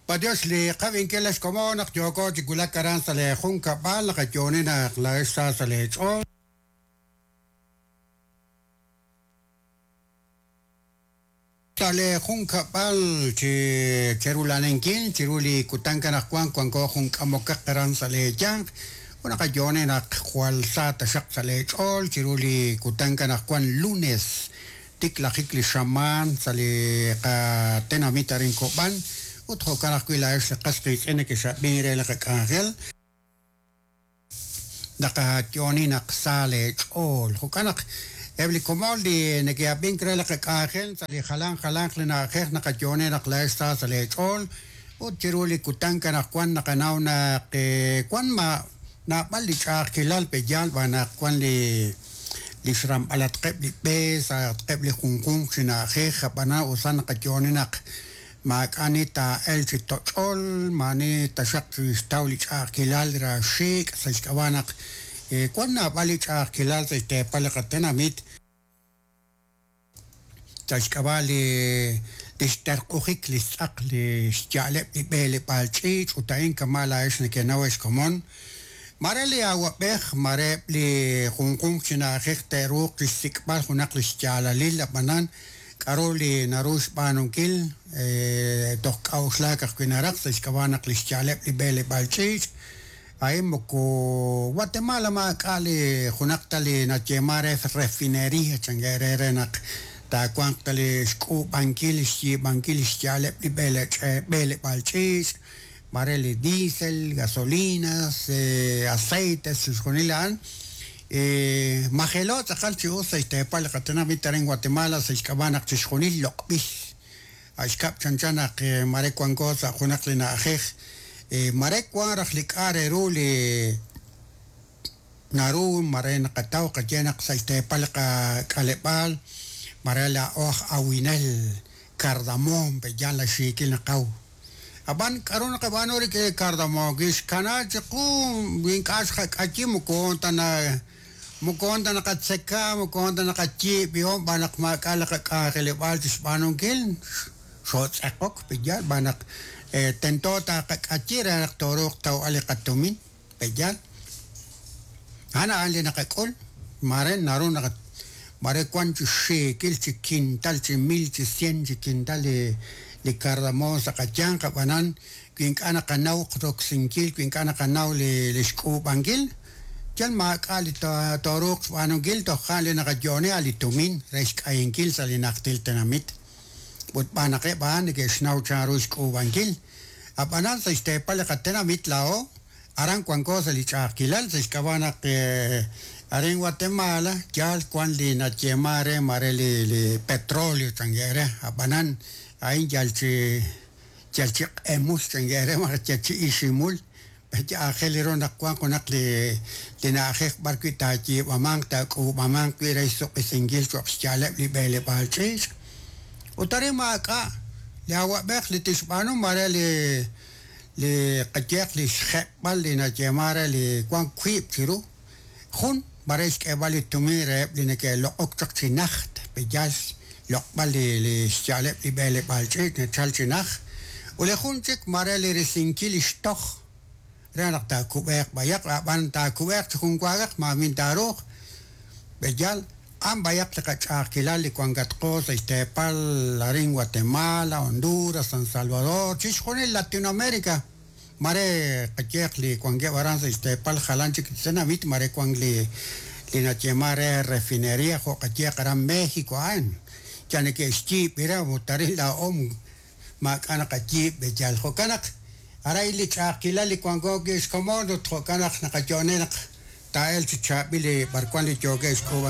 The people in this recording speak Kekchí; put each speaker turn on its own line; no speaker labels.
Patiox li qab'inkil xkomon naq yooko chi wulak aran sa' li junkab'al naqayooni naq laa'ex sa sa' leech'ool. Sa' li junkab'al chi cherulaninkil chiru li kutan anaqwan wanko jun k'amokaq aran sa' leeyanq ut naqayooni naq jwal sa taxaq sa' leech'ool chiru li kutan anaqwan lunes tiklajik li xamaan sa' li qatenamit arin Kob'an ut jo'kan ajwi' laa'ex li qas qiitz'in nekexab'in re li qak'anjel naqayooni naq sa leech'ool. Jo'kan naq eb' li komon li neke'ab'ink re li qak'anjel sa' li jalan jalanq li na'ajej naqayooni naq laa'ex sa sa' leech'ool ut chiru li kutan anaqwan naqanaw naq wan ma naab'al li ch'a'ajkilal pe'yaal b'an naq wan li xramb'alatqeb' li b'e sa'atqeb' li junjunq chi na'ajej ab'anan usan naqayooni naq maak'a' taa'el chi toch'ol maani taxaq xtaw li ch'a'ajkilal raxiik' sa' xk'ab'a' naq wan naab'al li ch'a'ajkilal sa' xteepal li qatenamit sa' xk'ab'a' li xterq'ujik li xtz'aq li xya'aleb' li b'eleb'aal ch'iich' ut a'in kama' laa'ex nekenaw ex komon mare li awab'ej mare eb' li junjunq chi na'ajej te'ruuq chixsik'b'al junaq li xyaalalil ab'anan k'aru li naru xb'aanunkil toj k'a'uxlaak ajwi' naraj sa' xk'ab'a' naq li xya'aleb' li b'eleb'aal ch'iich' a'in moko Guatemala maak'a' li junaq ta li nayeema re refinería chanke re re naq taawanq ta li xk'uub'ankil xyiib'ankil xya'aleb' li b'eleb'aal ch'iich' mare li diesel, gasolinas, aceites chixjunil a'an majelo tz'aqal chi us sa' xteepal li qatenamit arin Guatemala sa' xk'ab'a' naq chixjunil loq'b'il axkab' chanchan naq mare wanko sa' junaq li na'ajej mare wan raj li k'a' re ru li naru mare naqataw qaye naq sa' xteepal li qak'aleb'aal mare laa'o aj awinel cardamom pe'yaal la xiikil naqaw ab'an k'aru naqab'aanu rik'in cardamom kixkana chiqu ink'a' xqak'ayi moko ta moko ta naqatzeka moko ta naqayiib'ihom b'an naq maak'a' li qak'anjeleb'aal chi xb'aanunkil xootz'eqok pe'yaal b'an naq tento taqak'ayi re naq tooruuq tawb'al li qatumin pe'yaal a'an a'an li naqak'ul mare naru naq mare wan chi xiikil chi quintal chi mil chi cien chi quintal li cardamom sa' qayanq ab'anan wi ink'a' naqanaw roksinkil wi ink'a' naqanaw li xk'uub'ankil yal maak'a' li tooruuq xb'aanunkil toj a'an li naqayooni a' li tumin re xk'ayinkil sa' li najtil tenamit ut b'an naq eb' a'an neke'xnaw chanru xk'uub'ankil ab'anan sa' xteepal li qatenamit laa'o aran wanko sa' li ch'a'ajkilal sa' xk'ab'a' naq arin Guatemala yaal wan li nayeema re mare li petróleo chanke re ab'anan a'in yal chi q'emul chanke re malaj yal chi iximul aajel ru naq wanq junaq li na'ajej b'ar wi' taayiib'amanq taak'uub'amanq wi' re xsuq'isinkil cho'q xya'aleb' li b'eleb'aal ch'iich' ut arin maak'a' li awab'ej li tixb'aanu mare li qayeq li xjeb'al li nayeema re li wan wiib' chiru jun mare xk'eeb'al li tumin reheb' li neke'loq'ok chaq chi najt pe'yaal loq'b'al li xya'aleb' li b'eleb'aal ch'iich' nachal chi najt ut li jun chik mare li risinkil li xtoj re naq taakub'eeq b'ayaq ab'an taakub'eeq chi junwaagaq maamin taaruuq pe'yaal a'an b'ayaq li qach'a'ajkilal li wankatqo sa' xteepal arin Guatemala, Honduras, San Salvador, chixjunil Latinoamérica mare qayeq li wankeb' aran sa' xteepal jalan chik tenamit mare wank li nayeema re refinería jo' qayeq aran México a'an ya neke'xyiib' re ut arin laa'o maak'a' naqayiib' pe'yaal jo'kan naq aray li ch'a'ajkilal li wanko wi' xkomon ut jo'kan naq naqayo'oni naq taa'el chi chaab'il li b'arwan li yookeb' xk'uub'ankil.